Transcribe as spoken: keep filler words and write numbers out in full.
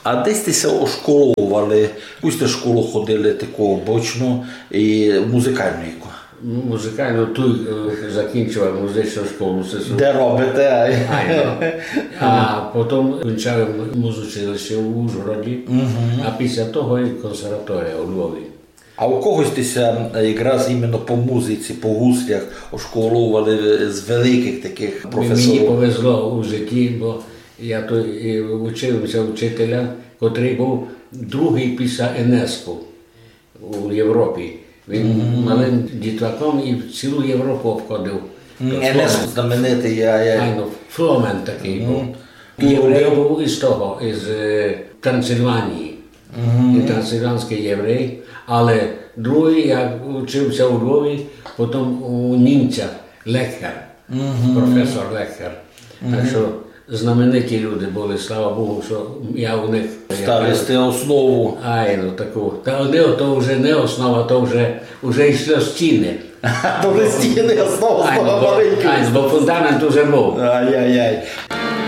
А де сьте ся ошколовали? Якусь сьте школу ходили таку обычну і музикалну яку? Ну, музикалну туй, е, закінчовав музичну школу, се су- Де робите? Айно. А потом кінчав музучилище у Ужгороді, а після того і консерваторія у Львові. А у кого сьте ся, е, якраз іменно по музиці, по гуслях ошколовали з великых такых професорів? Мені повезло у житті, бо я туй і учив ся учителя, котрый быв другый після Енеску у Європі. Він малым дітлаком і цілу Європу обходив. Енеску знаменитый, я, я. Айно, фломен такый быв. Єврей быв із того, із, е, Трансильванії. Він трансильванськый єврей, але другый, я учив ся у Львові, потом у німця Лекхер, професор Лекхер. Так што знамениті люди были, слава Богу, што я у них... Ставили сьте основу. Айно, таку. Та не, то вже не основа, то вже, вже йшло стіны. То вже стіны, основа, айно, основа бо, маленька. Айно, бо фундамент уже быв. Ай-яй-яй.